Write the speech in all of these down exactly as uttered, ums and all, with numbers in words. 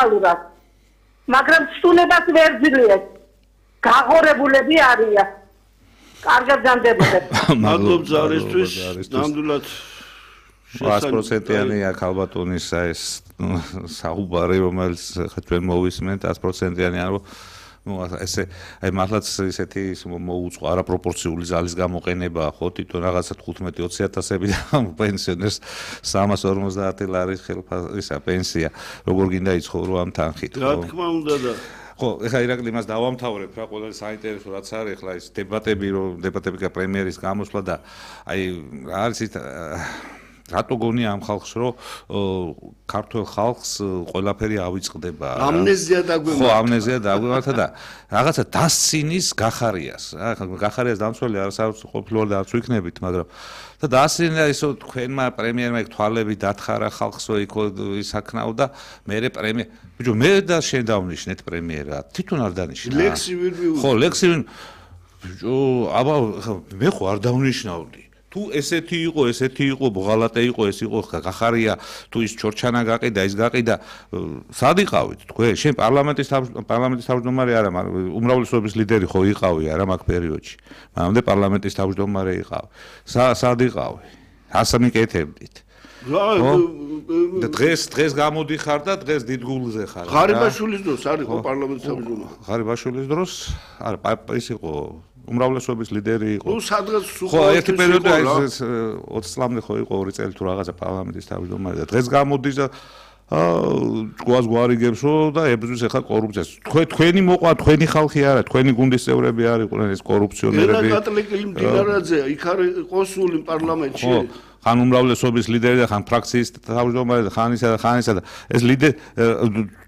ნორმალურად. მაგრამ ცნობას ვერ ძლიეს. გაღორებულები არიან. კარგად ჯანდებოდეთ. მადლობ ზარისთვის, ნამდვილად sto procenti აქ ალბათონის ეს საუბარი რომელიც ჩვენ მოვისმენთ sto procenti ანუ ну ესე აი მართლაც ისეთი მოუწყო არაპროპორციული ზალის გამოყენება ხო თვითონ რაღაცა თხუთმეტი ოცი ათასები და პენსიონერს სამას ორმოცდაათი ლარის ხელფასისა პენსია როგორ გინდა იცხოვრო ამ თანხით რა თქმა უნდა და ხო ეხლა ირაკლი მას დავამთავრებ რა ყველა საინტერესო რაც არის ეხლა ეს დებატები რომ დებატები პრემიერის გამოსვლა და აი რა არის ის რატო გონია ამ ხალხს რომ ქართულ ხალხს ყველაფერი ავიწყდება ამნეზია დაგვემართა ხო ამნეზია დაგვემართა და რაღაცა დასცინის გახარიას რა გახარიას დამცველი არასდროს ყოფილვარ და არც ვიქნებით მაგრამ და დასცინა ისო თქვენმა პრემიერმა იქ თვალები დათხარა ხალხსო იქ ისაქნაო და მე პრემიერ ბიჭო მე და შენ დავნიშნეთ პრემიერა თვითონ არ დანიშნა ლექსი ვერ მივუძე ხო ლექსი ბიჭო აბა მე ხო არ დავნიშნავდი თუ ესეთი იყო, ესეთი იყო, ბოღალატე იყო, ეს იყო, გახარია, თუ ის ჩორჩანა გაყიდა, ის გაყიდა, სად იყავით თქვენ? შენ პარლამენტის პარლამენტის თავმჯდომარე არა, უმრავლესობის ლიდერი ხო იყავი არა მაგ პერიოდში. მანამდე პარლამენტის თავმჯდომარე იყავი. სად იყავი? ასე მიკეთებდით. და დღეს დღეს გამოდიხარ და დღეს დიდგულზე ხარ. ღარიბაშვილის დროს არ იყო პარლამენტის თავმჯდომარე. ღარიბაშვილის დროს არა, ის იყო უმრავლესობის ლიდერი იყო. ნუ სადღაც ხო, ერთი პერიოდი აი ოცი წლამდე ხო იყო ორი წელი თუ რაღაცა პარლამენტის თავმჯდომარე და დღეს გამოდის და აა ჭკუას გვარიგებს რომ და ებრძვის ახლა კორუფციას. თქვენ თქვენი მოყვა, თქვენი ხალხი არა, თქვენი გუნდის წევრები არ იყვნენ ეს კორუფციონერები. ენა კატლიკელი მდინარაძე იქ არის კონსული პარლამენტში. ხო, ხან უმრავლესობის ლიდერი და ხან ფრაქციის თავმჯდომარე და ხან ისა და ხან ისა და ეს ლიდერი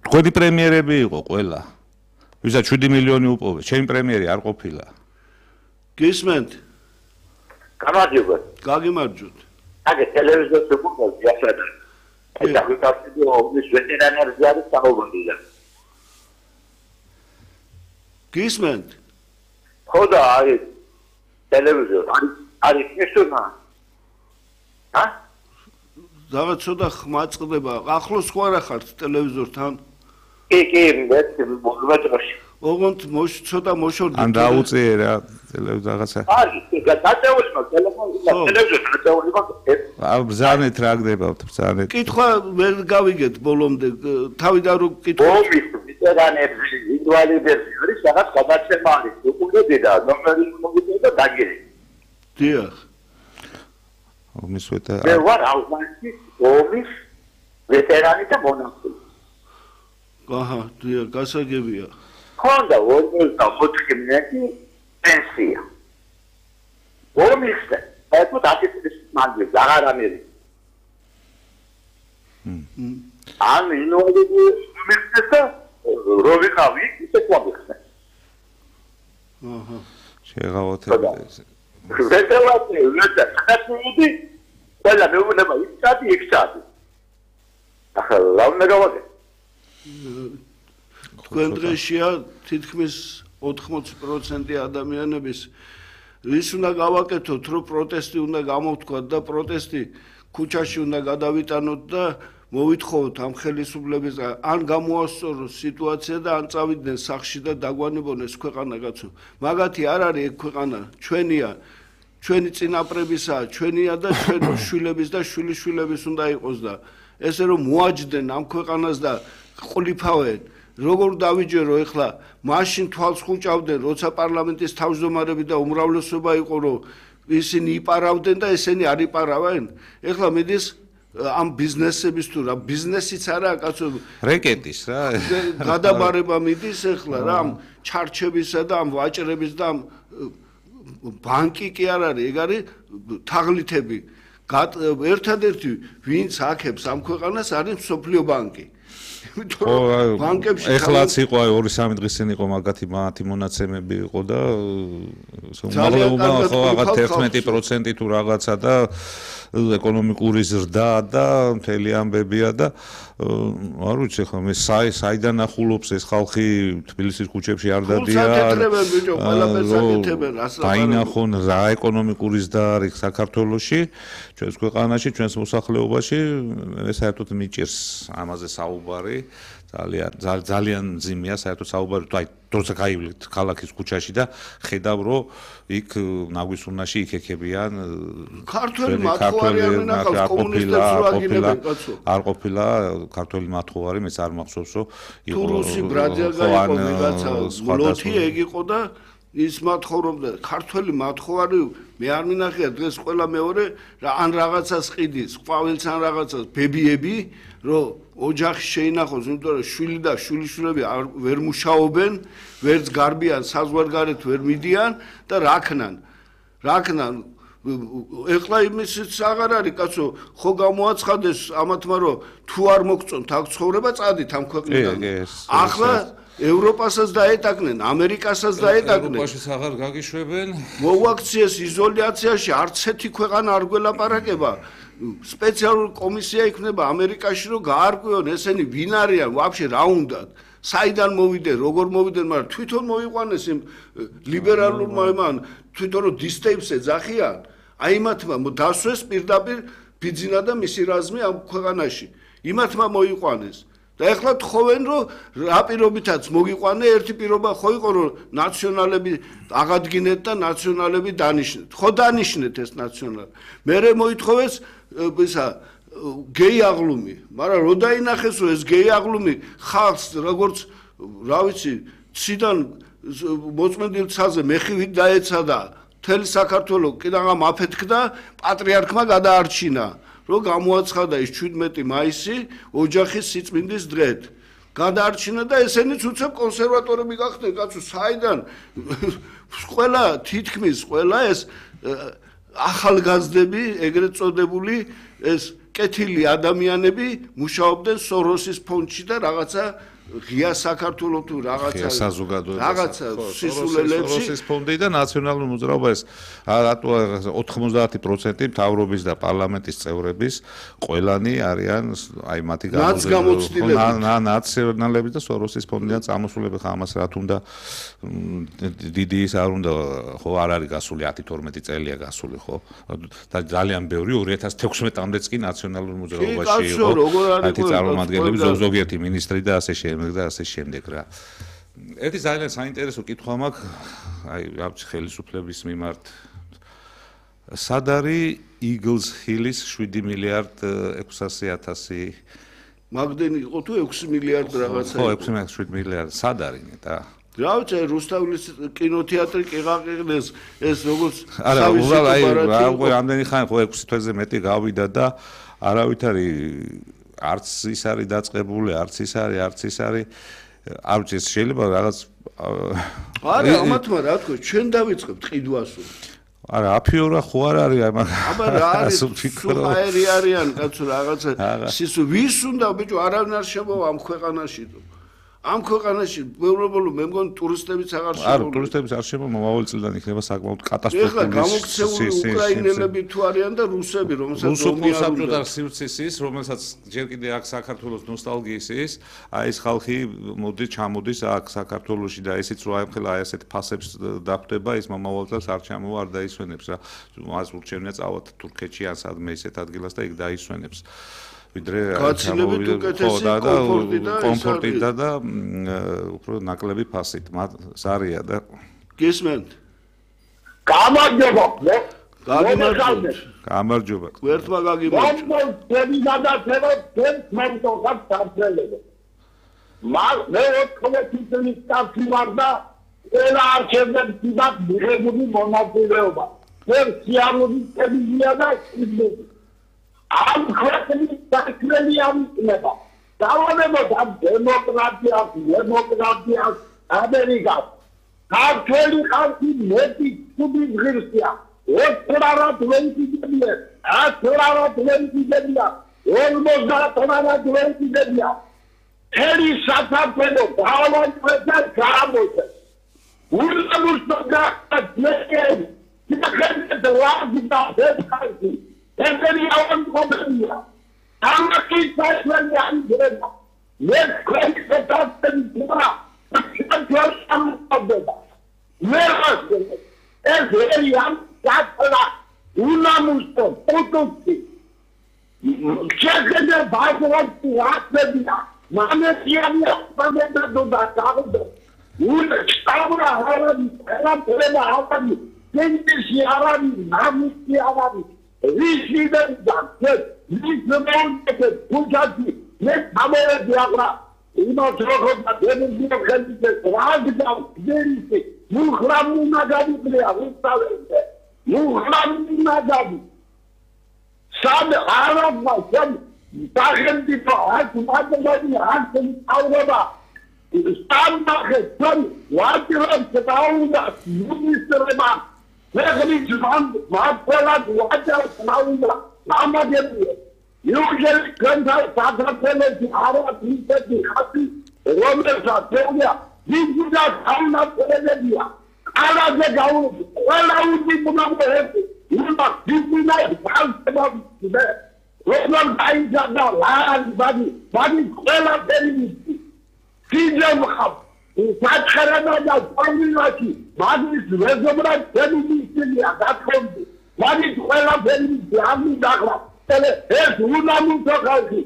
თქვენი პრემიერები იყო ყველა. ვისაც შვიდი მილიონი უპოვეს, ჩემი პრემიერი არ ყოფილა. გისმენთ? გამარჯობათ. გაგიმარჯვოთ. აგე ტელევიზორზე გუგლზე ახლა. აი და ვიკავდი ომის ვეტერანებზე არის საუბარია. გისმენთ? ხო და აი ტელევიზორ არის არის ისონა. ჰა? რაღაც ცოტა ხმა წყდება. ახლოს ხო არა ხართ ტელევიზორთან? კი, კი, მე მოგმაჭრაში. ოღონდ მოშ ცოტა მოშორდი. ან დაუწიე რა ტელევიზორ რაღაცა. არის, გაწეული მაგ ტელეფონი და ტელევიზორი გაწეული მაგ. აა ბზანეთ რა გდებავთ ბზანეთ. კითხვა ვერ გავიგეთ ბოლომდე. თავიდან რო კითხვა. ომის ვეტერანებს ინვალიდებს არის რაღაც გადაცემა არის. უკუნები და ნომერი მოგიწევ და დაგირი. დიახ. ომის ვეტერანი. მე ვარ აუგუსტის ომის ვეტერანი და მონახული. აჰა, დიახ, გასაგებია. ხონდა ორმოცდაოთხი წლიანი პენსია. ომის ეს მოთაკი წლის მანძილზე აღარ ამერი. ჰმ. ან ინოვატორი მიხსნა როვიხავი ისე ყვავიხსნა. აჰა. შეღავოთ ეს. ვეტერანი ვეტერანი ყველა მეუბნება ის წადი იქ წადი. ახლა რა უნდა გავაკეთო? თქვენ დღეშია თითქმის ოთხმოცი პროცენტი ადამიანების ვის უნდა გავაკეთოთ რომ პროტესტი უნდა გამოვთქვათ და პროტესტი ქუჩაში უნდა გადავიტანოთ და მოვითხოვოთ ამ ხელისუფლების ან გამოასწოროს სიტუაცია და ან წავიდნენ სახლში და დაგვანებონეს ქვეყანა კაცო მაგათი არ არის ეგ ქვეყანა ჩვენია ჩვენი წინაპრებისაა ჩვენია და ჩვენ შვილების და შვილიშვილების უნდა იყოს და ესე რომ მოაჯდნენ ამ ქვეყანას და ყლიფავენ როგორ დავიჯერო ეხლა მაშინ თვალს ხუჭავდნენ როცა პარლამენტის თავმჯდომარები და უმრავლესობა იყო რომ ისინი იპარავდნენ და ესენი არ იპარავენ ეხლა მიდის ამ ბიზნესების თუ რა ბიზნესიც არაა კაცო რეკეტის რა გადაბარება მიდის ეხლა რა ამ ჩარჩებისა და ამ ვაჭრების და ამ ბანკი კი არ არის ეგ არის თაღლითები ერთადერთი ვინც აქებს ამ ქვეყანას არის მსოფლიო ბანკი ბანკებში ეხლაც იყო აი ორი სამი დღის წინ იყო მაგათი მათი მონაცემები იყო და უმალეობა ხო რაღაც ერთმეტი პროცენტი თუ რაღაცა და ეკონომიკური ზრდა და მთელი ამბებია და არ ვიცი ხო მე საი საიდან ახულობს ეს ხალხი თბილისის ქუჩებში არ დადიან დაინახონ რა ეკონომიკური ზრდა არის საქართველოში ჩვენს ქვეყანაში ჩვენს მოსახლეობაში მე საერთოდ მიჭირს ამაზე საუბარი ძალიან ძალიან ძიმია საერთოდ საუბარი თუ აი როცა გაივლით ქალაქის ქუჩაში და ხედავ რომ იქ ნაგვისუნაში იქექებიან ქართველი მათხოვარი არ მენახავს კომუნისტებს რო აგინებენ კაცო არ ყოფილა ქართველი მათხოვარი მეც არ მახსოვს რომ იყო თურუსი ბრაძიაგი იყო ვიღაცა ლოთი ეგ იყო და ის მათხოვრობდა ქართველი მათხოვარი მე არ მინახია დღეს ყველა მეორე ან რაღაცას ყიდის ყვავილს ან რაღაცას ბებიები რომ ოჯახი შეინახოს იმიტომ რომ შვილი და შვილიშვილები ვერ მუშაობენ ვერც გარბიან საზღვარგარეთ ვერ მიდიან და რაქნან რაქნან ეხლა იმისიც აღარ არის კაცო ხო გამოაცხადეს ამათმა რომ თუ არ მოგწონთ აქ ცხოვრება წადით ამ ქვეყნიდან ახლა ევროპასაც დაეტაკნენ, ამერიკასაც დაეტაკნენ. ევროპაშიც აღარ გაგიშვებენ. მოაქციეს იზოლაციაში, არც ერთი ქვეყანა არ გველაპარაკება. სპეციალური კომისია იქნება ამერიკაში, რომ გაარკვიონ ესენი ვინ არიან, ვაფშე რა უნდათ. საიდან მოვიდნენ, როგორ მოვიდნენ, მაგრამ თვითონ მოიყვანეს იმ ლიბერალურმა იმან, თვითონ რომ დისტეიფს ეძახიან, აი მათმა დასვეს პირდაპირ ბიძინა და მისი რაზმი ამ ქვეყანაში. იმათმა მოიყვანეს. და ეხლა თხოვენ რომ რა პირობითაც მოგიყვანე ერთი პირობა ხო იყო რომ ნაციონალები აღადგინეთ და ნაციონალები დანიშნეთ ხო დანიშნეთ ეს ნაციონალი მერე მოითხოვეს ისა გეი აღლუმი მაგრამ რო დაინახეს რომ ეს გეი აღლუმი ხალხს როგორც რა ვიცი ციდან მოწმენდილ ცაზე მეხივით დაეცადა მთელი საქართველოს კიდევ ამ აფეთქდა პატრიარქმა გადაარჩინა რომ გამოაცხადა ის შვიდმეტი მაისი ოჯახის სიწმინდის დღედ. გადაარჩინა და ესენიც უცებ კონსერვატორები გახდნენ, კაცო, საიდან ყველა თითქმის ყველა ეს ახალგაზრდები, ეგრეთ წოდებული ეს კეთილი ადამიანები მუშაობდნენ სოროსის ფონდში და რაღაცა ღია საქართველოს თუ რაღაცა რაღაცა სისულელებში სოროსის ფონდი და ნაციონალური მოძრაობა ეს რატო ოთხმოცდაათი პროცენტი მთავრობის და პარლამენტის წევრების ყველანი არიან აი მათი ნაციონალები და სოროსის ფონდიდან წამოსულები ხა ამას რა თუნდა დიდი ის არ უნდა ხო არ არის გასული ათი თორმეტი წელია გასული ხო და ძალიან ბევრი ორი ათას თექვსმეტამდეც კი ნაციონალურ მოძრაობაში იყო ათი წარმომადგენლები ზოგიერთი მინისტრი და ასე შემდეგ და ასე შემდეგ რა. ერთი ძალიან საინტერესო კითხვა მაქვს, აი რაღაც ხელისუფლების მიმართ. სად არის Eagles Hill-ის შვიდი მილიარდ ექვსასი ათასი მაგდენი იყო თუ ექვსი მილიარდ რაღაცა ხო ექვსი მილიარდ შვიდი მილიარდ სად არის ნეტა რა ვიცი რუსთავის კინოთეატრი კი გაყიყნეს ეს როგორც არა უბრალოდ აი რა უკვე ამდენი ხანი ხო ექვსი თვეზე მეტი გავიდა და არავითარი არც ის არის დაწყებული, არც ის არის, არც ის არის. არ ვიცი, შეიძლება რაღაც არა, ამათმა რა თქო, ჩვენ დავიწყებთ ყიდვასო. არა, აფიორა ხო არ არის აი მაგ. აბა რა არის? სუპერი არიან, კაცო, რაღაცა. სისუ ვის უნდა ბიჭო, არავინ არ შემოვა ამ ქვეყანაში. ამ ქვეყანაში უბრალოდ მე მგონი ტურისტებიც აღარ შემოვა. არა, ტურისტებიც არ შემოვა, მომავალ წლიდან იქნება საკმაოდ კატასტროფული. ეხლა გამოქცეული უკრაინელები თუ არიან და რუსები, რომელსაც რუსოფილ საბჭოთა სივრცის ის, რომელსაც ჯერ კიდე აქ საქართველოს ნოსტალგიის ის, აი ეს ხალხი მოდი ჩამოდის აქ საქართველოში და ისიც რო აი ხელა აი ასეთ ფასებს დახვდება, ის მომავალ წელს არ ჩამოვა, არ დაისვენებს რა. მას ურჩევნია წავალთ თურქეთში ან სადმე ისეთ ადგილას და იქ დაისვენებს. ვიდრე გაცილებით უკეთესი კომფორტი და კომფორტი და და უფრო ნაკლები ფასით ზარია და გესმენთ გამარჯობა გამარჯობა გამარჯობა ერთმა გაგიმარჯობა მე გადაცემა თემ მომდოხად სამწელები მაგ მე ოთხმოცი წლის კაცი ვარ და ყველა არჩევნებში მაგ მიღებული მონაწილეობა მე სიამოვნებით ტელევიზია და ისმენთ ამ ქვეყნის საქმენი ამინება. დავანებოთ ამ დემოკრატიას, დემოკრატიას ამერიკას. ქართველი ხალხი მეტი ცუდი ღირსია. ოცდაათ ვენდიდებია, ათდაათ ვენდიდებია, ორმოცდაათ ვენდიდებია. ერი საფაფენო დავანებოთ გამოდე. ურსაბურსტა გაკეთე. იქნება რა ვიცი Every hour problem. I'm not going to say I'm good. Let's quick set up the door. I'm just some of them. Where was it? As very young, that's a lot. Una musto, Potosi. Check the Bible of the last media. მამეთიანია მამეთო და გავდო ულ სტაბურა ჰარანი ყველა ყველა ავანი გენდისი არანი ნამისი არანი რისიდან და რისმონტე პუჯადი მე ამერები აღრა იმას როგორ და დემიზიო ხელიზე რაგდა დერისი მუხრამუ ნაგადია ვისწავლე მუხრამუ ნაგადი სამ არაბმა სამ დაღემდი ფაათ მაგდადი ახენ აურება სტანდარტი სამ ვარტირებს დაუნა მინისტრება მეგრი ჯვან მართლა ვაჯარს ნაუნა ამაგები იუგელი განდა საგრაფელები არა ისეთი ხათი რომელსაც თეორია ვიზა გამნაწერებია ალაზე გაუდი ყველა უძი მომაკვეთი იმა ვიზინა ბალსებაბი როგორ დაიჯდა ლარი ბადი ბადი ყველა დერიმი ფიჯამ ხაბ საჩხერანა და პორმილაკი მაგის რეზობრა დემისილია გათხოვდი მაგის ყველა დერიმი ამი დაღლა ეს უნამუნთო ხალხი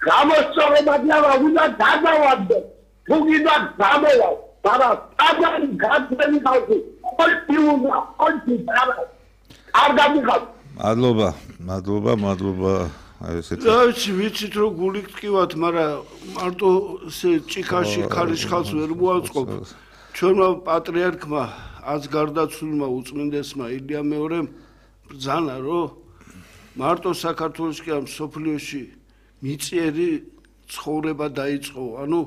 გამოსწორებადია უნდა გადავადდე თუგიდა გამოვა ბარა ტაბანი გაწმენი ხალხი ყოველი უნდა ყოველი ბარა არ გამიხარ მადლობა მადლობა მადლობა აი ესეთი დავიცი ვიცით რომ გული გტკივათ მაგრამ მარტო ესე ჭიქაში ქარიშხალს ვერ მოაწყობ ჩვენმა პატრიარქმა აც გარდაცვლილმა უწმინდესმა ილია მეორემ ბრძანა რომ მარტო საქართველოს კი ამ სოფლიოში მიწიერი ცხოვრება დაიწყო ანუ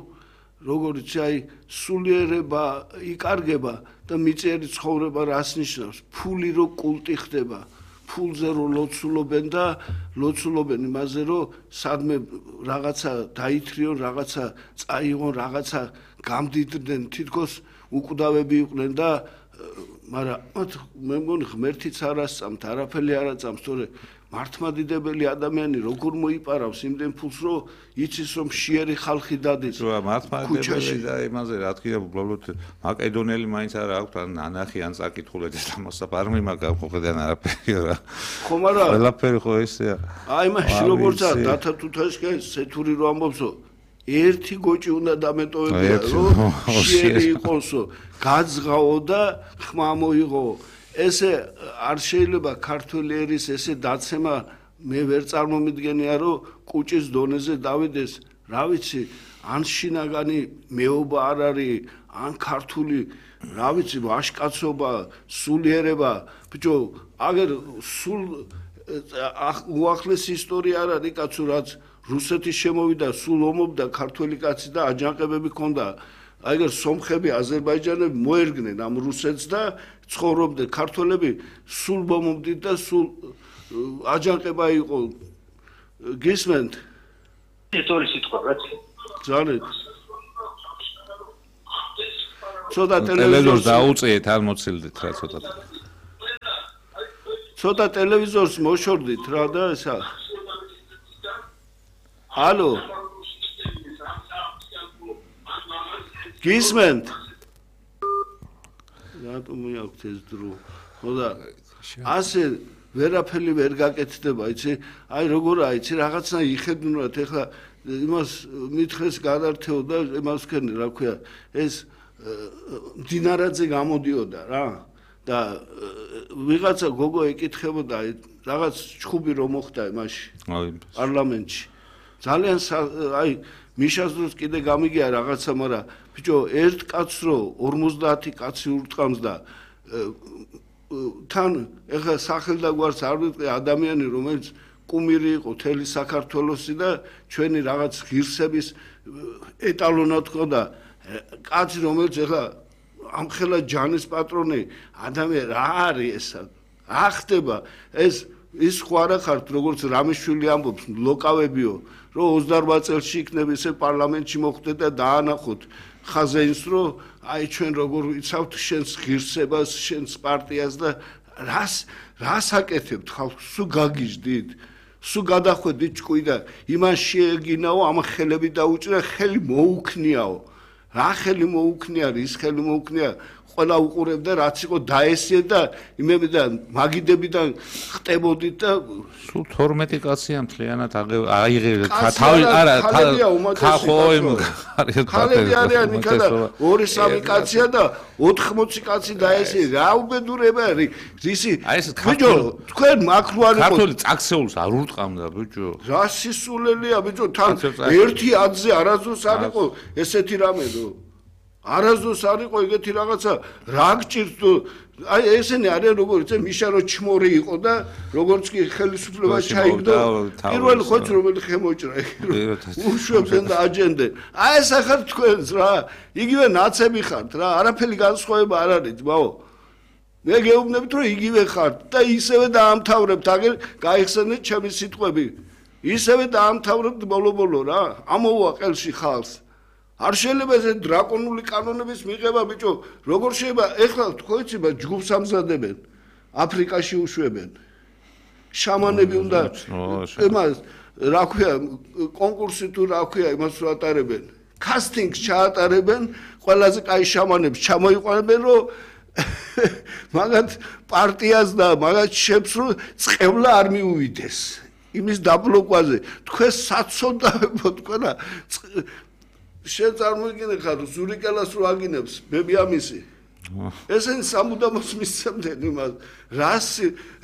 როგორც აი სულიერება იკარგება და მიწიერი ცხოვრება რას ნიშნავს ფული რო კულტი ხდება ფულზე რო ლოცულობენ და ლოცულობენ იმაზე რომ სადმე რაღაცა დაითრიონ რაღაცა წაიღონ რაღაცა გამდიდნენ თითქოს უკვდავები იყვნენ და მაგრამ მე მგონი ღმერთიც არ ასწამთ არაფერი არ აწამს თორე მართლმადიდებელი ადამიანი როგორ მოიპარავს იმდენ ფულს რომ იცის რომ შიერი ხალხი დადეს რა მართლმადიდებელი და იმაზე რა თქმა უნდა უბრალოდ მაკედონელი მაინც არ აქვს ან ანახი ან წაკითხულეთ და მოსაპარმი მაგა ყოფიდან არაფერი რა ხო მაგრამ ყველაფერი ხო ესეა აი მაშინ როგორცა დათა თუთაშკა სეთური რო ამბობსო ერთი გოჭი უნდა დამეტოვებია რომ შიერი იყოსო გაძღაო და ხმა მოიღო ესე არ შეიძლება ქართული ერის ესე დაცემა მე ვერ წარმომიდგენია რომ კუჭის დონეზე დავიდეს რა ვიცი ან შინაგანი მეობა არ არის ან ქართული რა ვიცი ვაშკაცობა სულიერება ბიჭო აგერ სულ უახლესი ისტორია არ არის კაცო რაც რუსეთის შემოვიდა სულ ომობდა ქართველი კაცი და აჯანყებები ჰქონდა აიგერ სომხები აზერბაიჯანები მოერგნენ ამ რუსეთს და ცხოვრობდნენ ქართველები სულ მომდით და სულ აჯანყება იყო გისმენთ ისტორიის სიტყვა რაც ძალიან ცოტა ტელევიზორს დაუწიეთ არ მოცილდით რა ცოტა ცოტა ტელევიზორს მოშორდით რა და ესა ალო გისმენთ რატომ მეაქვთ ეს დრო ხო და ასე ვერაფერი ვერ გაკეთდება იცი აი როგორ აიცი რაღაცა იხედუნათ ეხლა იმას მითხეს გადართეო და იმას ვქენი რა ქვია ეს მდინარაძე გამოდიოდა რა და ვიღაცა გოგო ეკითხებოდა რაღაც ჩხუბი რომ მოხდა იმაში პარლამენტში ძალიან აი მიშას დროს კიდე გამიგია რაღაცა მაგრამ ბიჭო ერთ კაცს რო ორმოცდაათი კაცი ურტყამს და თან ეხლა სახელ და გვარს არ ვიტყვი ადამიანი რომელიც კუმირი იყო თელი საქართველოსი და ჩვენი რაღაც ღირსების ეტალონად ხოდა კაცი რომელიც ეხლა ამხელა ჯანის პატრონი ადამიანი რა არის ესა რა ხდება ეს ის ხო არა ხართ როგორც რამიშვილი ამბობს ლოკავებიო რომ ოცდაორ წელში იქნებ ესე პარლამენტში მოხვდე და დაანახოთ ხაზეინს რომ აი ჩვენ როგორ ვიცავთ შენს ღირსებას შენს პარტიას და რას რას აკეთებთ ხალხს სულ გაგიჟდით სულ გადახვედით ჭკუი და იმან შეეგინაო ამ ხელები დაუჭირა ხელი მოუქნიაო რა ხელი მოუქნია ის ხელი მოუქნია ყველა უყურებდა რაც იყო დაესიე და იმებიდან მაგიდებიდან ხტებოდით და სულ თორმეტი კაცია მთლიანად აიღე თავი არა ხახო იმ ხალები არიან იქა და ორი სამი კაცია და ოთხმოცი კაცი დაესიე რა უბედურება არის ისი ბიჭო თქვენ მაქრუარი ქართული წაქცეულს არ ურტყამდა ბიჭო რა სისულელია ბიჭო თან ერთი ათზე არასდროს არ იყო ესეთი რამეო არასდროს არ იყო ეგეთი რაღაცა რა გჭირს აი ესენი არიან როგორც მიშარო ჩმორი იყო და როგორც კი ხელისუფლება ჩაიგდო პირველი ხოც რომელი ხემოჭრა უშვებდნენ და აჯენდნენ აი ეს ახლა თქვენს რა იგივე ნაცები ხართ რა არაფერი განსხვავება არ არის ძმაო მე გეუბნებით რომ იგივე ხართ და ისევე დაამთავრებთ აგერ გაიხსენეთ ჩემი სიტყვები ისევე დაამთავრებთ ბოლო-ბოლო რა ამოვა ყელში ხალხს არ შეიძლება ეს დრაკონული კანონების მიღება ბიჭო როგორ შეიძლება ეხლა თქო იცი ჯგუფს ამზადებენ აფრიკაში უშვებენ შამანები უნდა იმას რა ქვია კონკურსი თუ რა ქვია იმას ვატარებენ კასტინგს ჩაატარებენ ყველაზე კაი შამანებს ჩამოიყვანებენ რომ მაგათ პარტიას და მაგათ შეფს რომ წყევლა არ მიუვიდეს იმის დაბლოკვაზე თქვენ საცოდავებო თქვენა შენ წარმოიდგინე ხარ ზურიკელას რო აგინებს ბებიამისი ესენ სამუდამოს მისცემდნენ იმას რას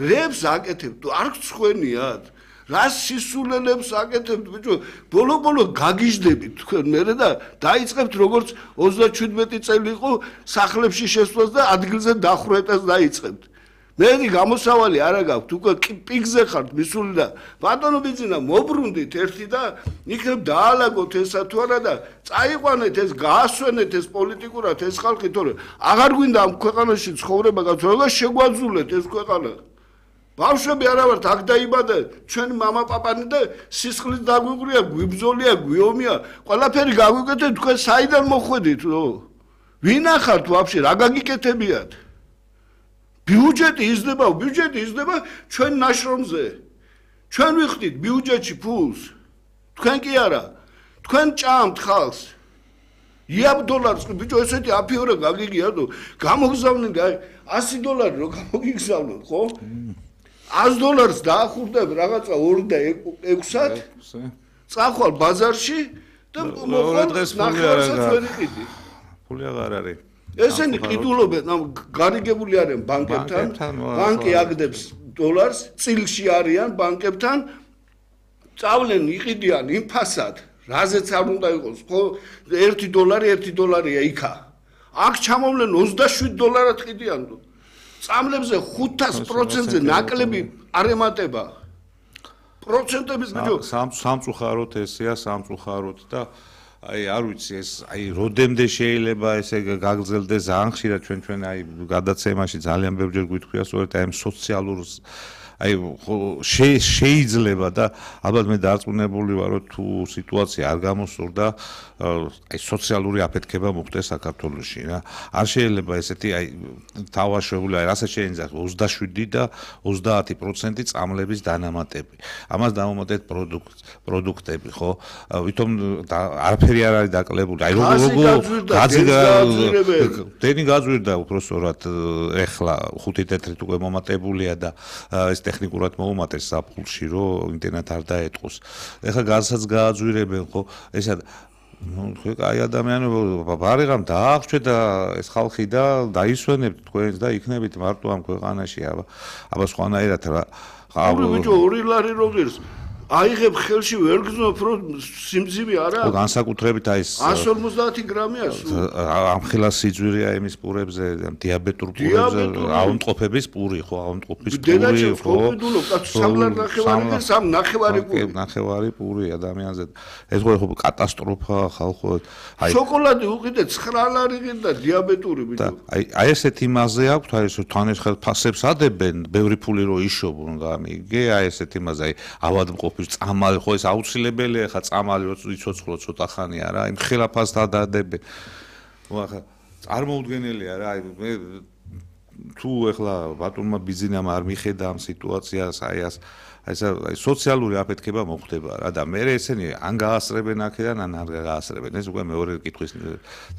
რებს აკეთებთ არ გცხვენიათ რას სისულელებს აკეთებთ ბიჭო ბოლო-ბოლო გაგიჟდებით თქვენ მერე და დაიწყებთ როგორც ოცდაჩვიდმეტი წელი იყო სახლებში შესვლას და ადგილზე დახვრეტას დაიწყებთ მე გამოსავალი არა გაქვთ უკვე პიგზე ხართ მისული და ბატონო ბიძინა მობრუნდით ერთი და იქნებ დაალაგოთ ესა თუ არა და წაიყვანეთ ეს გაასვენეთ ეს პოლიტიკურად ეს ხალხი თორე აღარ გვინდა ამ ქვეყანაში ცხოვრება გაძროლა შეგვაძულეთ ეს ქვეყანა ბავშვები არა ვართ აქ დაიბადა ჩვენი мама პაპანი და სისხლის დაგვიგვრია გვიბზოლია გვიომია ყველაფერი გაგვიკეთეთ თქვენ საიდან მოხვედით რო ვინ ახართ ვაფშე რა გაგიკეთებიათ ბიუჯეტი იზრდება, ბიუჯეტი იზრდება ჩვენ ნაშრომზე. ჩვენ ვიხდით ბიუჯეტში ფულს. თქვენ კი არა. თქვენ ჭამთ ხალხს. იაბ დოლარს ბიჭო ესეთი აფიორე გაგიგია თუ გამოგზავნენ ასი დოლარი რო გამოგიგზავნოთ, ხო? ას დოლარს დაახურდებ რაღაცა ორი და ექვსად. წახვალ ბაზარში და მოხვალ ნახევარსაც ვერ იყიდი. ფული აღარ არის. ესენი ყიდულობენ ამ გარიგებული არიან ბანკებთან ბანკი აგდებს დოლარს წილში არიან ბანკებთან წავლენ იყიდიან ინფასად რაზეც არ უნდა იყოს ხო ერთი დოლარი ერთი დოლარია იქა აქ ჩამოვლენ ოცდაშვიდ დოლარად ყიდიან წამლებზე ხუთას პროცენტზე ნაკლები არ ემატება პროცენტების ბიჭო სამწუხაროდ ესეა სამწუხაროდ და აი არ ვიცი ეს აი როდემდე შეიძლება ესე გაგრძელდეს ძალიან ხშირად ჩვენ ჩვენ აი გადაცემაში ძალიან ბევრჯერ გვითხრია სწორედ აი ამ სოციალურ აი შეიძლება და ალბათ მე დარწმუნებული ვარ რომ თუ სიტუაცია არ გამოსურდა აი სოციალური აფეთქება მოხდეს საქართველოში რა არ შეიძლება ესეთი აი თავაშვებული აი რასაც შეიძლება ოცდაშვიდი და ოცდაათი პროცენტი წამლების დანამატები ამას დამომატეთ პროდუქტები ხო ვითომ არაფერი არ არის დაკლებული აი როგორ დენი გაძვირდა უпростоრად ეხლა ხუთი თეთრით უკვე მომატებულია და ეს ტექნიკურად მოუმატეს საფულში რომ ინტერნეტ არ დაეტყოს ეხლა გაზსაც გააძვირებენ ხო ესა ну აი ადამიანები ბარიღამ დაახვჩე და ეს ხალხი და დაისვენებთ თქვენს და იქნებით მარტო ამ ქვეყანაში აბა აბა სხვანაირად რა ხავ ბიჭო ორი ლარი როგერს აიღებ ხელში ვერ გზნობ რომ სიმძივე არა ხო განსაკუთრებით აი ეს ას ორმოცდაათი გრამია ამხელა სიძვირეა იმის პურებზე დიაბეტურ პურებზე აუნტყოფების პური ხო აუნტყოფის პური ხო დედაჩემ ხო სამლარ ნახევარი და სამ ნახევარი პური ნახევარი პური ადამიანზე ეს ხო კატასტროფა ხალხო აი შოკოლადი უყიდე ცხრა ლარი და დიაბეტური ბიჭო აი აი ესეთი მასე აქვს აი ეს თან ეს ფასებს ადებენ ბევრი ფული რო იშობουν გამიგე აი ესეთი მასე აი ავადმყოფი წამალი ხო ეს აუცილებელია ხა წამალი რო იცოცხლო ცოტა ხანი არა იმ ხელაფასთან დადებენ ხო ახლა წარმოუდგენელია რა აი მე თუ ეხლა ბატონმა ბიძინამ არ მიხედა ამ სიტუაციას, აი ას აი ეს სოციალური აფეთქება მოხდება რა და მე ესენი ან გაასწრებენ აქედან ან არ გაასწრებენ. ეს უკვე მეორე კითხვის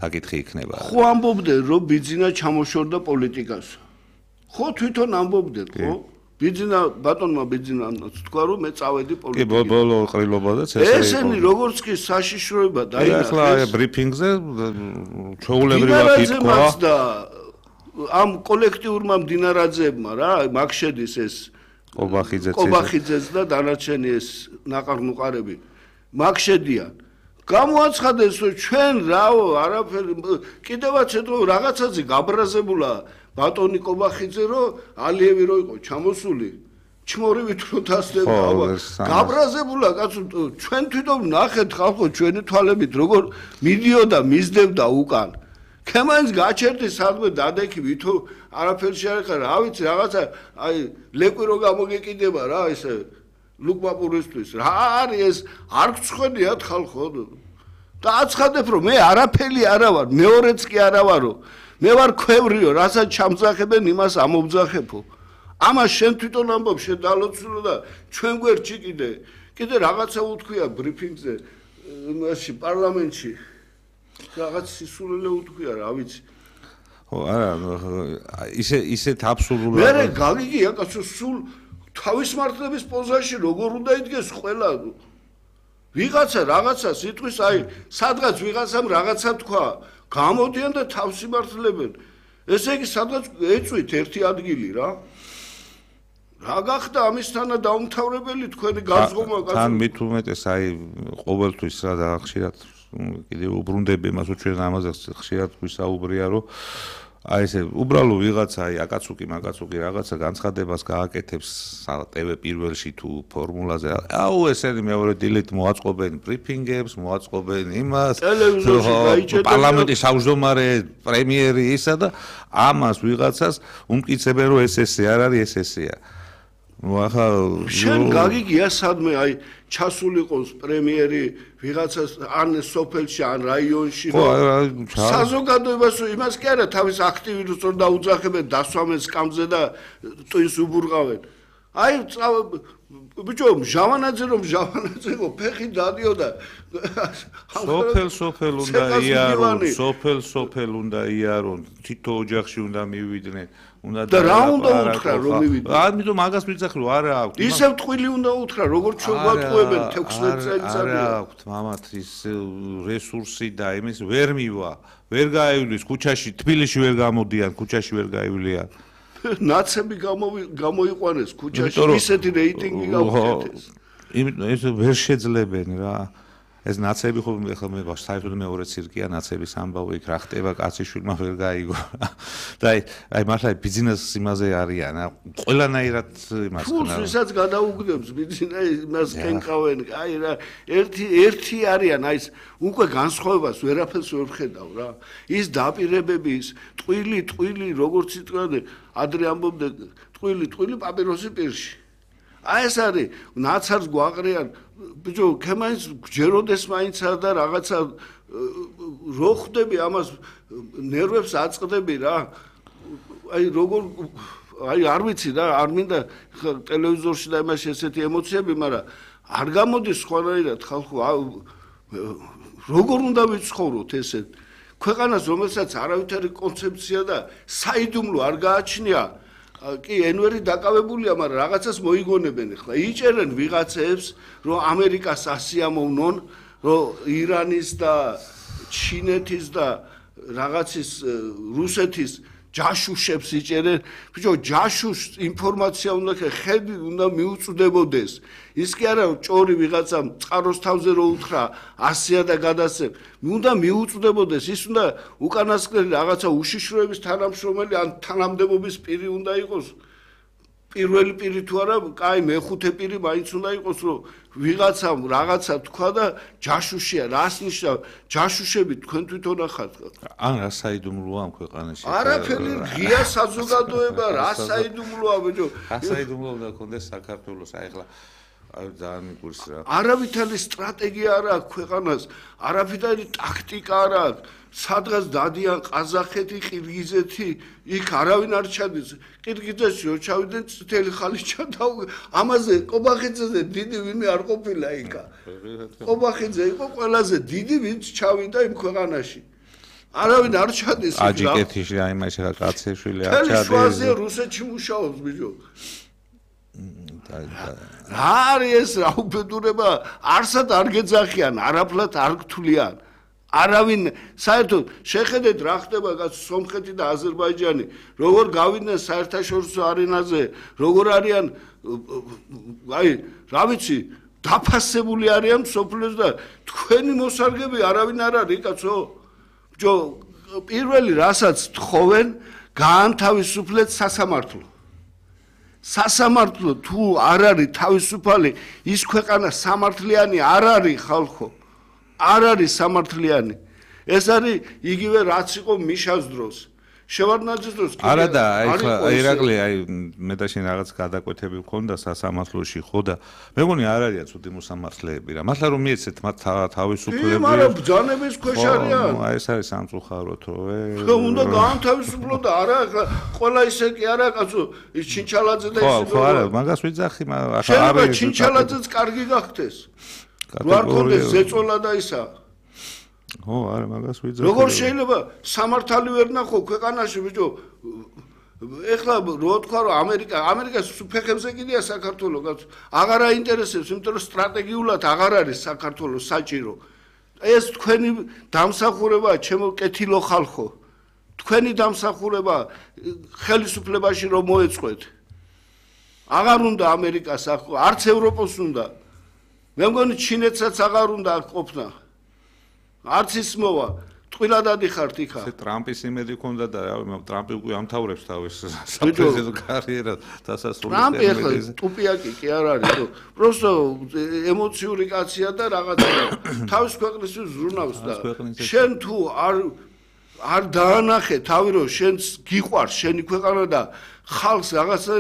საკითხი იქნება. ხო ამბობდნენ რომ ბიძინა ჩამოშორდა პოლიტიკას. ხო თვითონ ამბობდნენ, ხო? ბიძინა ბატონმა ბიძინანაც თქვა რომ მე წავედი პოლიტიკაში. კი ბოლო ყრილობაზეც ეს არის. ესენი როგორც კი საშიშროება დაინახეს. ახლა ბრიფინგზე ჩაულებრივად ითქვა და ამ კოლექტიურმა მდინარაძეებმა რა მაგ შედის ეს ყობახიძეც ყობახიძეც და დანარჩენი ეს ნაყარნუყარები მაგ შედიან. გამოაცხადეს რომ ჩვენ რაო არაფერი კიდევაც ეთქო რაღაცაზე გაბრაზებულა ბატონი ყობახიძე რომ ალიევი რო იყო ჩამოსული ჩმორივით რო დასდება გაბრაზებულა კაცო ჩვენ თვითონ ნახეთ ხალხო ჩვენი თვალებით როგორ მიდიოდა მისდევდა უკან ქემაინს გაჩერდი სადმე დადექი ვითო არაფერში არ ხარ რა ვიცი რაღაცა აი ლეკვი რო გამოგეკიდება რა ესე ლუკმაპურისთვის რა არის ეს არ გწხვედიათ ხალხო და აცხადებ რომ მე არაფერი არა ვარ მეორეც კი არა ვარო მე ვარ ქვევრიო რასაც ჩამძახებენ იმას ამობძახებო ამას შენ თვითონ ამბობ შენ დალოცულო და ჩვენ გვერდში კიდე კიდე რაღაცა უთქვია ბრიფინგზე იმაში პარლამენტში რაღაც სისულელე უთქვია რა ვიცი ხო არა ისე ისეთ აბსურდულად მე გაგიგია კაცო სულ თავის მართლების პოზაში როგორ უნდა იდგეს ყველა ვიღაცა რაღაცა სიტყვის აი სადღაც ვიღაცამ რაღაცა თქვა გამოდიან და თავს იმართლებენ ესე იგი სადღაც ეწვით ერთი ადგილი რა რა გახდა ამისთანა დაუმთავრებელი თქვენი გაზღობა კაცო თან მით უმეტეს აი ყოველთვის რა და ხშირად კიდე უბრუნდები იმას რომ ჩვენ ამაზე ხშირად გვისაუბრია რომ აი ესე უბრალო ვიღაცა აი აკაცუკი მაგაცუკი რაღაცა განცხადებას გააკეთებს ტევ პირველში თუ ფორმულაზე აუ ესენი მეორე დილით მოაწყობენ ბრიფინგებს მოაწყობენ იმას პარლამენტის თავმჯდომარე პრემიერი ისა და ამას ვიღაცას უმტკიცებენ რომ ეს ესე არ არის ეს ესეა ну ახლა შენ გაგიგია სადმე აი ჩასულიყოს პრემიერი ვიღაცას ან სოფელში ან რაიონში რომ საზოგადოებას იმას კი არა თავის აქტივისტს რომ დაუძახებენ დასვამენ სკამზე და ტვინს უბურყავენ აი ბიჭო ჟავანაძე რომ ჟავანაძეო ფეხი დადიოდა სოფელ სოფელ უნდა იარონ სოფელ სოფელ უნდა იარონ თითო ოჯახში უნდა მივიდნენ უნდა და რა უნდა უთხრა რომ მივიდნენ ამიტომ მაგას მიცახ რომ არა აქვს ისევ ტყვილი უნდა უთხრა როგორც ჩვენ გვატყუებენ თექვსმეტ წელიწადია არა აქვს მამათ ის რესურსი და იმის ვერ მივა ვერ გაივლის ქუჩაში თბილისში ვერ გამოდიან ქუჩაში ვერ გაივლიან ნაცები გამოიყვანეს ქუჩაში ისეთი რეიტინგი გავხეთეს იმიტომ ეს ვერ შეძლებენ რა ეს ნაცები ხო ახლა მე საერთოდ მეორე ცირკია ნაცების ამბავი იქ რა ხტება კაციშვილმა ვერ გაიგო და აი აი მართლა ბიზნეს იმაზე არიან ყველანაირად იმას ხნა თუ ვისაც გადაუგდებს ბიზნეს იმას კენყავენ აი რა ერთი ერთი არიან აი ეს უკვე განსხვავებას ვერაფერს ვერ ხედავ რა ის დაპირებები ის ტყვილი ტყვილი როგორც იტყვიან ადრე ამბობდნენ ტყვილი ტყვილი პაპიროსი პირში აი ეს არის ნაცარს გვაყრიან ბიჭო ქემაინს გჯეროდეს მაინცა და რაღაცა რო ხდები ამას ნერვებს აწყდები რა აი როგორ აი არ ვიცი რა არ მინდა ტელევიზორში და იმაში ესეთი ემოციები მაგრამ არ გამოდის სხვანაირად ხალხო როგორ უნდა ვიცხოვროთ ესეთ ქვეყანას რომელსაც არავითარი კონცეფცია და საიდუმლო არ გააჩნია კი ენვერი დაკავებულია, მაგრამ რაღაცას მოიგონებენ ახლა. იჭერენ ვიღაცებს, რომ ამერიკას ასიამოვნონ, რომ ირანის და ჩინეთის და რაღაცის რუსეთის ჯაშუშებს იჭერენ. ბიჭო, ჯაშუშს ინფორმაცია უნდა ხედი უნდა მიუწვდებოდეს. ის კი არა ჭორი ვიღაცამ წყაროს თავზე რო უთხრა ასია და გადასცემ. უნდა მიუწვდებოდეს, ის უნდა უკანასკნელი რაღაცა უშიშროების თანამშრომელი ან თანამდებობის პირი უნდა იყოს. პირველი პირი თუ არა, კაი მეხუთე პირი მაინც უნდა იყოს, რომ ვიღაცამ რაღაცა თქვა და ჯაშუშია, რას ნიშნავს? ჯაშუშები თქვენ თვითონ ახართ. ან რა საიდუმლოა ამ ქვეყანაში? არაფერი ღია საზოგადოება, რა საიდუმლოა, ბიჭო. რა საიდუმლო უნდა გქონდეს საქართველოს, აი ახლა აი ძალიან მიგურს რა. არავითარი სტრატეგია არ აქვს ქვეყანას, არავითარი ტაქტიკა არ აქვს. სადღაც დადიან ყაზახეთი, ყირგიზეთი, იქ არავინ არ ჩადის. ყირგიზეთში რო ჩავიდნენ წითელი ხალი ჩადა. ამაზე ყობახიძეზე დიდი ვინმე არ ყოფილა იქა. ყობახიძე იყო ყველაზე დიდი, ვინც ჩავიდა იმ ქვეყანაში. არავინ არ ჩადის. აჯიკეთში აი მას რა კაცეშვილი არ ჩადის. ჩადის. შუაზე რუსეთში მუშაობს ბიჭო. რა არის ეს რა უბედურება? არსად არ გეძახიან, არაფლად არ გთვლიან. არავინ საერთოდ შეხედეთ რა ხდება კაც სომხეთი და აზერბაიჯანი, როგორ გავიდნენ საერთაშორისო არენაზე, როგორ არიან აი რა ვიცი, დაფასებული არიან მსოფლიოს და თქვენი მოსარგები არავინ არ არის კაცო. ბიჭო, პირველი რასაც თხოვენ, გაანთავისუფლეთ სასამართლო. სასამართლო თუ არ არის თავისუფალი, ის ქვეყანა სამართლიანი არ არის ხალხო. არ არის სამართლიანი. ეს არის იგივე რაც იყო მიშას დროს. შევარდნაძის დროს კი არა და აი ხა ირაკლი აი მე და შენ რაღაც გადაკვეთები გქონდა სასამართლოში ხო და მე მგონი არ არიან ცუდი მოსამართლეები რა. მართლა რომ მიეცეთ მათ თავისუფლები. კი, მაგრამ ბრძანების ქვეშ არიან. აი ეს არის სამწუხაროდ რო ე. ხო, უნდა გაანთავისუფლო და არა ყველა ისე კი არა კაცო, ის ჩინჩალაძე და ის. ხო, არა, მაგას ვიძახი, მაგრამ ახლა არის ჩინჩალაძეც კარგი გახდეს. რო არ კონდეს ზეწოლა და ისა. ხო, არა, მაგას ვიძახი. როგორ შეიძლება სამართალი ვერ ნახო ქვეყანაში, ბიჭო? ეხლა რო თქვა რომ ამერიკა, ამერიკას ფეხებზე კიდია საქართველო, კაცო. აღარ აინტერესებს, იმიტომ რომ სტრატეგიულად აღარ არის საქართველოს საჭირო. ეს თქვენი დამსახურებაა, ჩემო კეთილო ხალხო. თქვენი დამსახურება ხელისუფლებაში რომ მოეწყვეთ. აღარ უნდა ამერიკას, არც ევროპას უნდა. მე მგონი ჩინეთსაც აღარ უნდა აქ ყოფნა. არც ის მოვა, ტყილა დადიხართ იქა. ეს ტრამპის იმედი ქონდა და რა, ტრამპი უკვე ამთავრებს თავის საპრეზიდენტო კარიერას დასასრულს. ტრამპი ახლა ტუპიაკი კი არ არის, რომ პროსტო ემოციური კაცია და რაღაცა თავის ქვეყნისთვის ზრუნავს და შენ თუ არ არ დაანახე თავი რომ შენს გიყვარს შენი ქვეყანა და ხალხს რაღაცა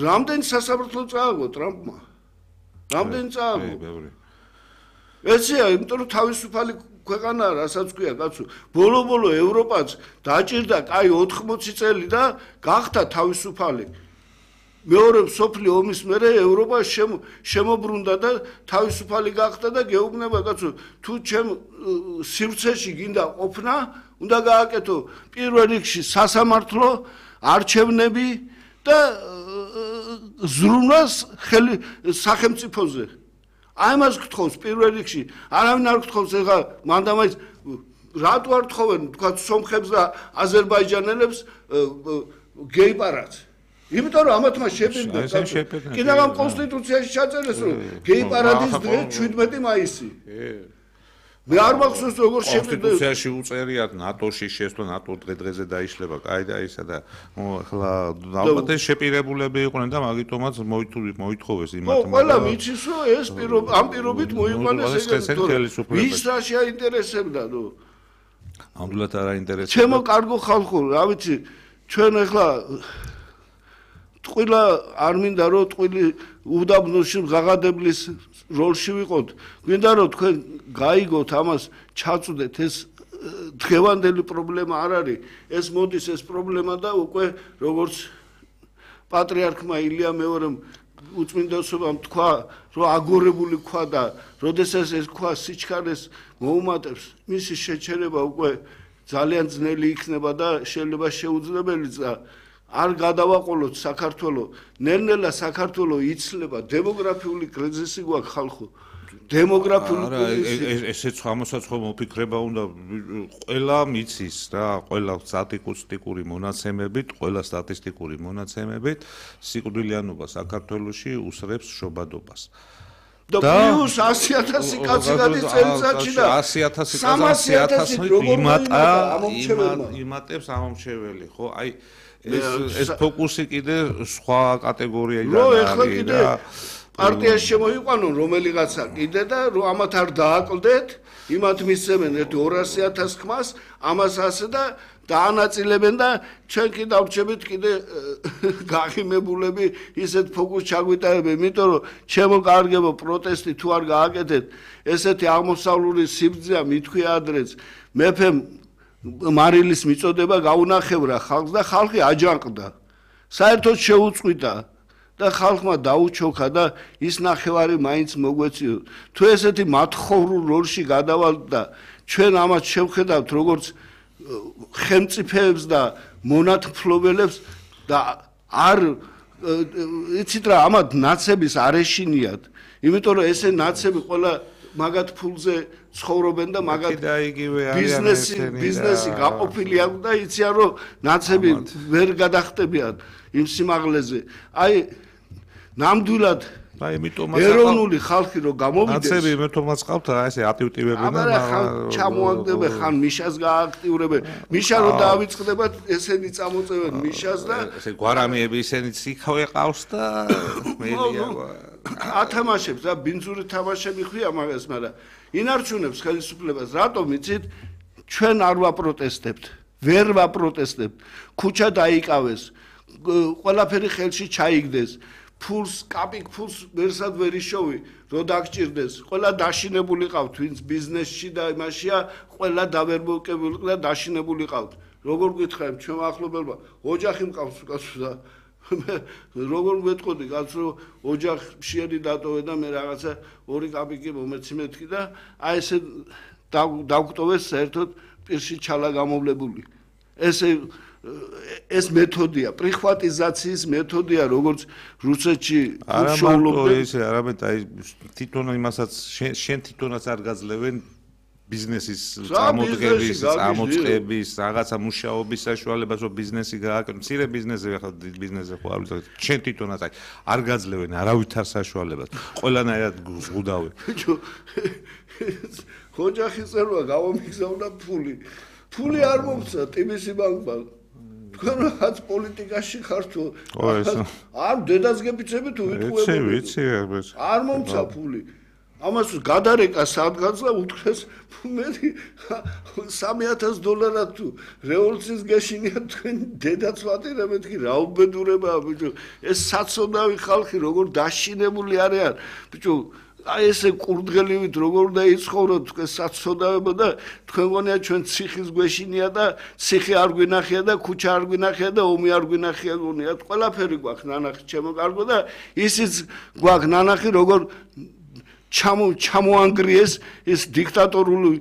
რამდენი სასამართლო წააგო ტრამპმა? რამდენი წააგო? ეცია, იმიტომ რომ თავისუფალი ქვეყანა რასაც ქვია კაცო, ბოლო-ბოლო ევროპაც დაჭირდა კაი ოთხმოცი წელი და გახდა თავისუფალი. მეორე მსოფლიო ომის მერე ევროპა შემოbrunდა და თავისუფალი გახდა და გეუბნება კაცო, თუ ჩემ სივრცეში გინდა ყოფნა, უნდა გააკეთო პირველ რიგში სასამართლო, არჩევნები და ზრუნვას ხელი სახელმწიფოზე. აი მას გთხოვს პირველ რიგში, არავინ არ გთხოვს ეხლა მანდამაის რატო არ თხოვენ თქვა სომხებს და აზერბაიჯანელებს გეიპარად. იმიტომ რომ ამათმა შეპირდა. კიდევ ამ კონსტიტუციაში ჩაწერეს რომ გეიპარადის დღე შვიდმეტი მაისი. მე არ მახსოვს როგორ შეპირდა. კონსტიტუციაში უწერიათ ნატოში შესვლა, ნატო დღე-დღეზე დაიშლება, კაი და ისა და ახლა ალბათ ეს შეპირებულები იყვნენ და მაგიტომაც მოითხოვეს იმათმა. ხო, ყველა ვიცის რომ ეს ამ პირობით მოიყვანეს ეგრე. ვის რა შეაინტერესებდა ნუ? ამდულად არ აინტერესებდა. ჩემო კარგო ხალხო, რა ვიცი, ჩვენ ახლა ტყილა არ მინდა რომ ტყვილი უდაბნოში ღაღადებლის როლში ვიყოთ. გვინდა რომ თქვენ გაიგოთ ამას, ჩაწვდეთ ეს დღევანდელი პრობლემა არ არის. ეს მოდის ეს პრობლემა და უკვე როგორც პატრიარქმა ილია მეორემ უწმინდესობამ თქვა, რომ აგორებული ქვა და როდესაც ეს ქვა სიჩქარეს მოუმატებს, მისი შეჩერება უკვე ძალიან ძნელი იქნება და შეიძლება შეუძლებელიც და არ გადავაყოლოთ საქართველოს. ნელ-ნელა საქართველოს იცლება დემოგრაფიული კრიზისი გვაქვს ხალხო. დემოგრაფიული კრიზისი. ესეც ამასაც ხომ მოფიქრება უნდა ყველა მიცის რა, ყველა სტატისტიკური მონაცემებით, ყველა სტატისტიკური მონაცემებით სიკვდილიანობა საქართველოში უსრებს შობადობას. და პლუს ასი ათასი კაცი გადის წელიწადში და ასი ათასი კაცი ათასი იმატა იმატებს ამომრჩეველი, ხო? აი ეს ეს ფოკუსი კიდე სხვა კატეგორიიდან არის რა. პარტიაში შემოიყვანონ რომელიღაცა კიდე და რომ ამათ არ დააკლდეთ, იმათ მისცემენ ერთი ორასი ათას ხმას, ამას ასე და დაანაწილებენ და ჩვენ კი დავრჩებით კიდე გაღიმებულები ისეთ ფოკუსს ჩაგვიტარებენ, იმიტომ რომ ჩემო კარგებო პროტესტი თუ არ გააკეთეთ, ესეთი აღმოსავლური სიბრძეა მithქვია ადრეც, მეფემ მარილის მიწოდება გაუნახევრა ხალხს და ხალხი აჯანყდა. საერთოდ შეუწყვიტა და ხალხმა დაუჩოქა და ის ნახევარი მაინც მოგვეციო. თუ ესეთი მათხოვრულ როლში გადავალთ და ჩვენ ამას შევხედავთ როგორც ხელმწიფეებს და მონათმფლობელებს და არ იცით რა ამათ ნაცების არ ეშინიათ, იმიტომ რომ ესე ნაცები ყველა მაგათ ფულზე ცხოვრობენ და მაგათ ბიზნესი ბიზნესი გაყოფილი აქვს და იციან რომ ნაცები ვერ გადახტებიან იმ სიმაღლეზე. აი ნამდვილად აი იმიტომ ეროვნული ხალხი რო გამოვიდეს ნაცები მე თომაც ყავთ რა ესე აქტივირებენ და მაგრამ ჩამოაგდებენ ხან მიშას გააქტიურებენ მიშა რო დაავიწყდებათ ესენი წამოწევენ მიშას და ესე გვარამიები ისინიც იქავე ყავს და მელია ათამაშებს და ბინძური თამაშები ხვია მაგას მაგრამ ინარჩუნებს ხელისუფლებას რატომ იცით ჩვენ არ ვაპროტესტებთ ვერ ვაპროტესტებთ ქუჩა დაიკავეს ყველაფერი ხელში ჩაიგდეს ფულს კაპიკ ფულს ვერსად ვერ იშოვი რო დაგჭირდეს ყველა დაშინებული ყავთ ვინც ბიზნესში და იმაშია ყველა დავერბოკებული და დაშინებული ყავთ როგორ გითხარით ჩვენ ახლობელმა ოჯახი მყავს კაცო და როგორ ვეთყოდი კაცო რომ ოჯახში დატოვე და მე რაღაცა ორი კაპიკი მომეცი მეთქი და აი ესე დავგვტოვეს საერთოდ პირში ჩალა გამოვლებული ესე ეს მეთოდია, პრიხვატიზაციის მეთოდია, როგორც რუსეთში უშუალობდნენ. ეს არამედ აი თვითონ იმასაც შენ თვითონაც არ გაძლევენ ბიზნესის წამოდგების, წამოწყების, რაღაცა მუშაობის საშუალებას, რომ ბიზნესი გააკეთო. მცირე ბიზნესზე ახლა დიდ ბიზნესზე ხო არ ვიცი. შენ თვითონაც აი არ გაძლევენ არავითარ საშუალებას. ყველანაირად ზღუდავენ. ბიჭო, ოჯახი წერვა გამომიგზავნა ფული. ფული არ მომცა ტიმისი ბანკმა. თქვენ რაღაც პოლიტიკაში ხართ თუ არ დედას გეფიცები თუ ვითხოვებოდი ვიცი ვიცი არ მომცა ფული ამას გადარეკა სადგანს და უთხრეს მე სამი ათას დოლარად თუ რევოლუციის გაშინია თქვენ დედაც ვატირებ მეთქი რა უბედურებაა ბიჭო ეს საცოდავი ხალხი როგორ დაშინებული არიან ბიჭო აი ესე კურდღელივით როგორ უნდა იცხოვროთ თქვენ საცოდავებო და თქვენ გონია ჩვენ ციხის გვეშინია და ციხი არ გვინახია და ქუჩა არ გვინახია და ომი არ გვინახია გონიათ ყველაფერი გვაქვს ნანახი ჩემო კარგო და ისიც გვაქვს ნანახი როგორ ჩამო ჩამოანგრიეს ეს დიქტატორული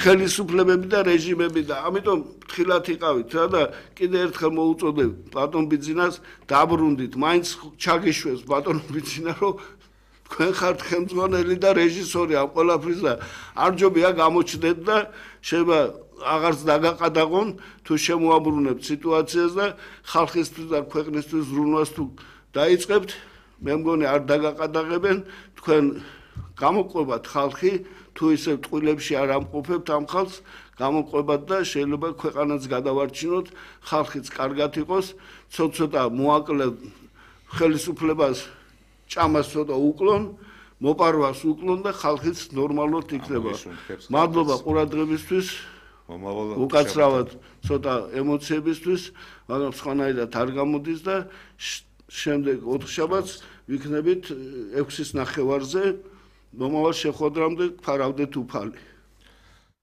ხელისუფლებები და რეჟიმები და ამიტომ ფრთხილად იყავით რა და კიდე ერთხელ მოუწოდებ ბატონ ბიძინას დაბრუნდით მაინც ჩაგიშვეს ბატონ ბიძინა რომ თქვენ ხართ ხელმძღვანელი და რეჟისორი ამ ყველაფრის და არ ჯობია გამოჩნდეთ და შეიძლება აღარც დაგაყადაღონ თუ შემოაბრუნებთ სიტუაციას და ხალხისთვის და ქვეყნისთვის ზრუნვას თუ დაიწყებთ მე მგონი არ დაგაყადაღებენ თქვენ გამოყვებათ ხალხი თუ ისე ტყუილებში არ ამყოფებთ ამ ხალხს გამოყვებათ და შეიძლება ქვეყანაც გადავარჩინოთ ხალხიც კარგად იყოს ცოტ-ცოტა მოაკლეთ ხელისუფლებას ჭამას ცოტა უკლონ, მოპარვას უკლონ და ხალხიც ნორმალურად იქნება. მადლობა ყურადღებისთვის. უკაცრავად ცოტა ემოციებისთვის, მაგრამ სხვანაირად არ გამოდის და შემდეგ ოთხშაბათს ვიქნებით ექვსის ნახევარზე მომავალ შეხვედრამდე ფარავდეთ უფალი.